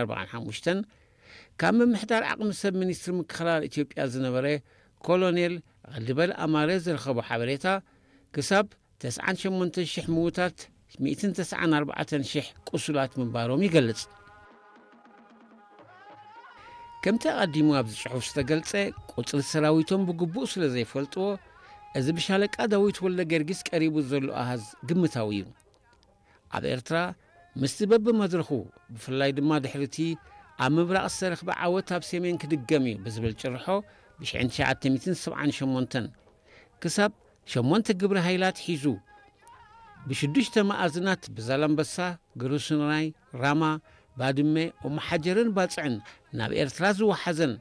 ኣርባዓን ሓሙሽተን ካብ ምምሕዳር ዓቕሚ ሰብ ሚኒስትሪ ምክልኻል ኢትዮጵያ ዝነበረ ኮሎኔል ቐልዲበል ኣማረ ዝረኸቦ ሓበሬታ፣ ክሳብ ተስዓን ሸሞንተን ሽሕ ምዉታት፣ ሚእትን ተስዓን ኣርባዕተን ሽሕ ቁሱላት ምንባሮም ይገልጽ። ከምቲ ኣቐዲሙ ኣብዚ ጽሑፍ ዝተገልጸ፣ ቁጽሪ ሰራዊቶም ብግቡእ ስለ ዘይፈልጥዎ፣ እዚ ብሻለቃ ዳዊት ወልደ ገርጊስ ቀሪቡ ዘሎ ኣሃዝ ግምታዊ እዩ። ኣብ ኤርትራ ምስቲ በብመድረኹ፣ ብፍላይ ድማ ድሕሪቲ ኣብ ምብራቕ ዝተረኽበ ዓወት ኣብ ሰሜን ክድገም እዩ ብዝብል ጭርሖ፣ ብሽሕን ትሽዓተ ሚእትን ሰብዓን ሸሞንተን ክሳብ ሸሞንተ ግብረ ሃይላት ሒዙ፣ ብሽዱሽተ መኣዝናት ብዛላምበሳ፣ ግሩስናይ፣ ራማ፣ ባድመ፣ ኦመሓጀርን ባጽዕን ናብ ኤርትራ ዝወሓዘን፣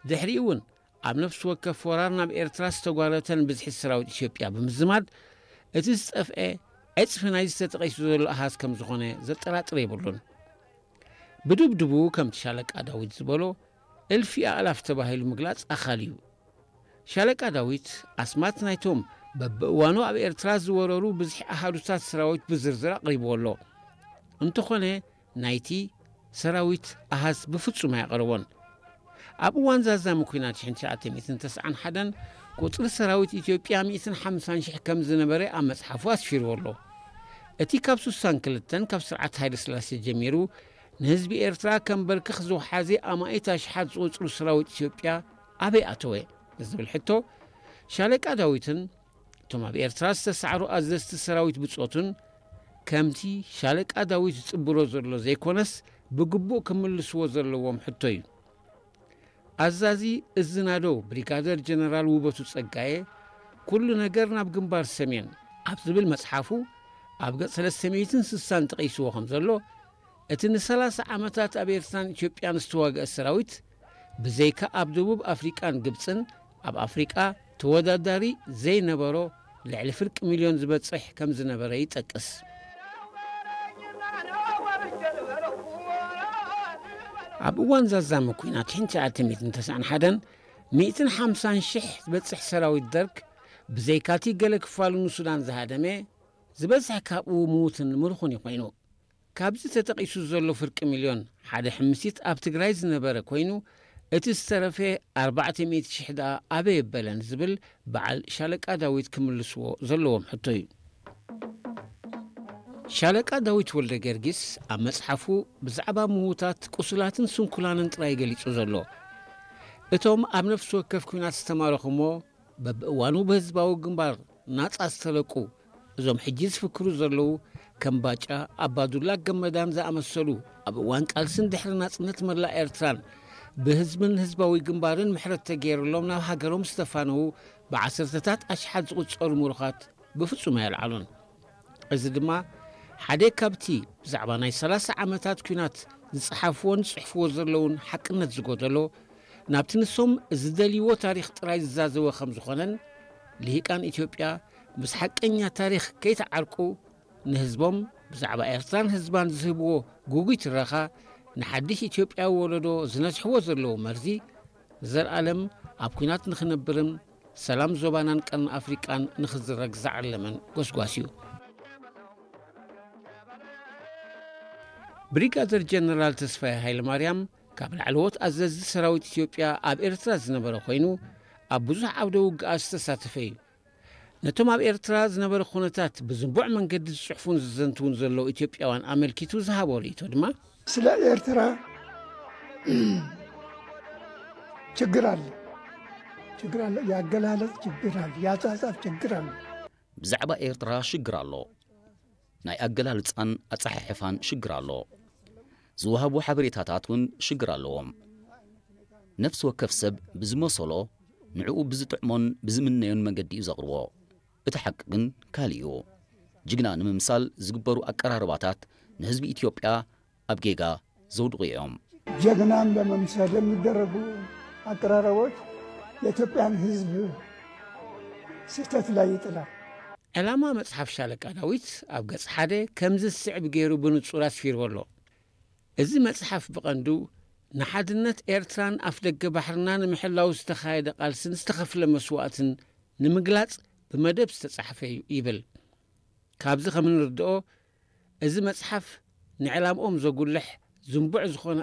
ድሕሪኡ እውን ኣብ ነፍሲ ወከፍ ወራር ናብ ኤርትራ ዝተጓረተን ብዝሒ ሰራዊት ኢትዮጵያ ብምዝማድ፣ እቲ ዝጠፍኤ ዕጽፊ ናይዚ ተጠቒሱ ዘሎ ኣሃዝ ከም ዝኾነ ዘጠራጥር የብሉን። ብድብድቡ ከምቲ ሻለቃ ዳዊት ዝበሎ እልፊ ኣእላፍ ተባሂሉ ምግላጽ ኣኻሊ እዩ። ሻለቃ ዳዊት ኣስማት ናይቶም በብእዋኑ ኣብ ኤርትራ ዝወረሩ ብዝሒ ኣሃዱታት ሰራዊት ብዝርዝር ኣቕሪብዎ ኣሎ። እንተኾነ ናይቲ ሰራዊት ኣሃዝ ብፍጹም ኣየቕረቦን። ኣብ እዋን ዛዛሚ ኲናት ሽሕን ትሽዓተ ሚእትን ተስዓን ሓደን ቁጽሪ ሰራዊት ኢትዮጵያ ሚእትን ሓምሳን ሽሕ ከም ዝነበረ ኣብ መጽሓፉ ኣስፊርዎ ኣሎ። እቲ ካብ ስሳን ክልተን ካብ ስርዓት ሃይለ ስላሴ ጀሚሩ ንህዝቢ ኤርትራ ከም በርክኽ ዝወሓዘ ኣማኢት ኣሽሓት ዝቑጽሩ ሰራዊት ኢትዮጵያ ኣበይ ኣተወ ንዝብል ሕቶ፣ ሻለቃ ዳዊትን እቶም ኣብ ኤርትራ ዝተሳዕሩ ኣዘዝቲ ሰራዊት ብጾቱን ከምቲ ሻለቃ ዳዊት ዝጽብሮ ዘሎ ዘይኮነስ፣ ብግቡእ ክምልስዎ ዘለዎም ሕቶ እዩ። ኣዛዚ እዚ ናደው ብሪጋደር ጀነራል ውበቱ ጸጋየ፣ ኩሉ ነገር ናብ ግንባር ሰሜን ኣብ ዝብል መጽሓፉ፣ ኣብ ገጽ ሰለስተ ሚእትን ስሳን ጠቒስዎ ከም ዘሎ፣ እቲ ንሰላሳ ዓመታት ኣብ ኤርትራን ኢትዮጵያን ዝተዋግአ ሰራዊት፣ ብዘይካ ኣብ ደቡብ ኣፍሪቃን ግብጽን፣ ኣብ ኣፍሪቃ ተወዳዳሪ ዘይነበሮ ልዕሊ ፍርቂ ሚልዮን ዝበጽሕ ከም ዝነበረ ይጠቅስ። ኣብ እዋን ዛዛሚ ኲናት ሽሕን ትሽዓተ ሚእትን ተስዓን ሓደን ሚእትን ሓምሳን ሽሕ ዝበጽሕ ሰራዊት ደርግ፣ ብዘይካቲ ገለ ክፋሉ ንሱዳን ዝሃደመ፣ ዝበዝሕ ካብኡ ምዉትን ምሩኽን እዩ ኮይኑ። ካብዚ ተጠቒሱ ዘሎ ፍርቂ ሚልዮን፣ ሓደ ሕምሲት ኣብ ትግራይ ዝነበረ ኮይኑ፣ እቲ ዝተረፈ ኣርባዕተ ሚእቲ ሽሕ ደኣ ኣበይ ኣበለ ንዝብል በዓል ሻለቃ ዳዊት ክምልስዎ ዘለዎም ሕቶ እዩ። ሻለቃ ዳዊት ወልደ ገርጊስ ኣብ መጽሓፉ ብዛዕባ ምዉታት፣ ቁሱላትን ስንኩላንን ጥራይ ገሊጹ ዘሎ። እቶም ኣብ ነፍሲ ወከፍ ኲናት ዝተማረኹ እሞ በብእዋኑ ብህዝባዊ ግንባር ናጻ ዝተለቁ፣ እዞም ሕጂ ዝፍክሩ ዘለዉ ከም ባጫ ኣባዱላ ገመዳን ዝኣመሰሉ፣ ኣብ እዋን ቃልስን ድሕሪ ናጽነት መላእ ኤርትራን ብህዝብን ህዝባዊ ግንባርን ምሕረት ተገይሩሎም ናብ ሃገሮም ዝተፋነዉ ብዓሰርተታት ኣሽሓት ዝቑጸሩ ምሩኻት ብፍጹም ኣየልዓሉን። እዚ ድማ ሓደ ካብቲ ብዛዕባ ናይ ሰላሳ ዓመታት ኲናት ዝጸሓፍዎን ዝጽሕፍዎ ዘለዉን ሓቅነት ዝጎደሎ፣ ናብቲ ንሶም ዝደልይዎ ታሪኽ ጥራይ ዝዛዘወ ከም ዝኾነን፣ ልሂቃን ኢትዮጵያ ምስ ሓቀኛ ታሪኽ ከይተዓርቁ፣ ንህዝቦም ብዛዕባ ኤርትራን ህዝባን ዝህብዎ ግጉይ ትረኻ፣ ንሓድሽ ኢትዮጵያዊ ወለዶ ዝነዝሕዎ ዘለዉ መርዚ፣ ንዘለኣለም ኣብ ኲናት ንኽነብርን ሰላም ዞባናን ቀርኒ ኣፍሪቃን ንኽዝረግ ዝዓለመን ጎስጓስ እዩ። ብሪጋደር ጀነራል ተስፋዬ ሃይለማርያም ካብ ላዕለዎት ኣዘዝቲ ሰራዊት ኢትዮጵያ ኣብ ኤርትራ ዝነበረ ኮይኑ፣ ኣብ ብዙሕ ዓውደ ውግኣት ዝተሳተፈ እዩ። ነቶም ኣብ ኤርትራ ዝነበረ ኩነታት ብዝንቡዕ መንገዲ ዝጽሕፉን ዝዘንትዉን ዘለዉ ኢትዮጵያውያን ኣመልኪቱ ዝሃቦ ርእይቶ ድማ፣ ስለ ኤርትራ ችግር አለ፣ ችግር አለ፣ ያገላለጽ ችግር አለ፣ ያጻጻፍ ችግር አለ። ብዛዕባ ኤርትራ ሽግር ኣሎ። ናይ ኣገላልጻን ኣጸሓሕፋን ሽግር ኣሎ። ዝወሃቡ ሓበሬታታት እውን ሽግር ኣለዎም። ነፍሲ ወከፍ ሰብ ብዝመሰሎ፣ ንዕኡ ብዝጥዕሞን ብዝምነዮን መገዲ እዩ ዘቕርቦ። እቲ ሓቂ ግን ካልእ እዩ። ጅግና ንምምሳል ዝግበሩ ኣቀራርባታት ንህዝቢ ኢትዮጵያ ኣብ ጌጋ ዘውድቑ እዮም። ጀግናን ለመምሰል የሚደረጉ አቀራረቦች የኢትዮጵያን ሕዝብ ስህተት ላይ ይጥላል። ዕላማ መጽሓፍ ሻለቃ ዳዊት ኣብ ገጽ ሓደ ከምዚ ዝስዕብ ገይሩ ብንጹር ኣስፊርዎ ኣሎ። እዚ መጽሓፍ ብቐንዱ ንሓድነት ኤርትራን ኣፍደገ ባሕርና ንምሕላው ዝተኻየደ ቃልስን ዝተኸፍለ መስዋእትን ንምግላጽ ብመደብ ዝተጻሕፈ እዩ ይብል። ካብዚ ከም እንርድኦ፣ እዚ መጽሓፍ ንዕላምኦም ዘጉልሕ ዝንቡዕ ዝኾነ